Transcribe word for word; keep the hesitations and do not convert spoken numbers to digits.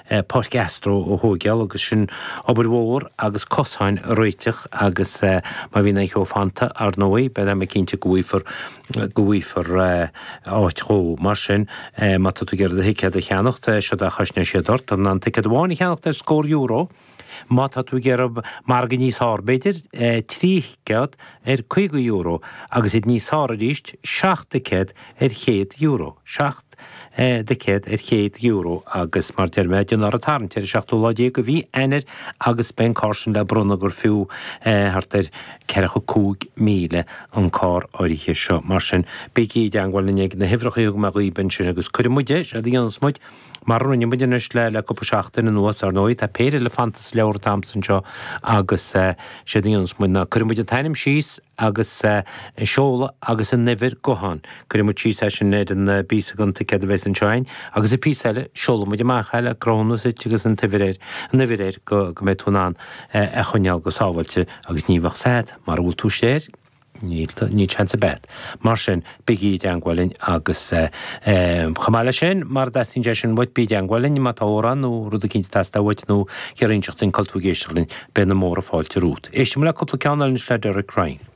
Páirc Astro a thógáil agus sin obair mhór agus cosáin a réiteach agus má bhíonn aon cheo fanta, ar ndóigh, beidh mé cinnte go bhfaighfear go bhfaighfear áit dhó. Mar sin, má tá tú ag iarraidh do thicéad a cheannacht, seod é a chosnóidh siad ort, tá tú in ann ticéad amháin a cheannacht ar scór euro. Má tá tú ag iarraidh margadh níos fearr, b'fhéidir, trí thicéad ar caoga euro agus iad níos fearr arís, seacht dticéad ar chéad euro. Seacht dticéad ar chéad euro agus mar deir mé, déanfar an tarraingt ar an seachtú lá déag de mhí Eanáir agus beidh an carr sin le bronnadh gur fiú thart ar ceathracha cúig míle an carr áirithe seo. Mar sin, bígí i dteangmháil linn ag na huimhreacha a thug mé dhaoibh ansin agus cuirfidh muid é, séard a dhéanfas muid, mar a rinne muid anois le le cúpla seachtain anuas, ar ndóigh, tá péire eile fanta sa leabhar atá a'msa anseo agus séard a dhéanfas muid ná cuirfidh muid an t-ainm síos agus an seoladh agus an uimhir gutháin. Cuirfidh muid síos é sin ar an bpíosa den ticéad a bheas anseo againn agus an píosa eile, seolfaidh muid amach é le cruthúnas duit agus an t-uimhir air, an uimhir air go go mbeidh tú in ann é a choinneáil go sábháilte agus ní bheadh 's a'd mara bhfuil tú istigh air. Níl, níl seans ar bith a'd. Mar sin, bígí i dteangmháil linn agus chomh maith leis sin, mara dteastaíonn sé sin uait, bí i dteangmháil linn má tá amhrán nó rud eicínt ag teastáil uait nó ag iarraidh inseacht dúinn cá bhfuil tú ag éisteacht linn, beidh na móra fáilte romhat. Éistfidh muid le cúpla ceann eile anois le Derek Ryan.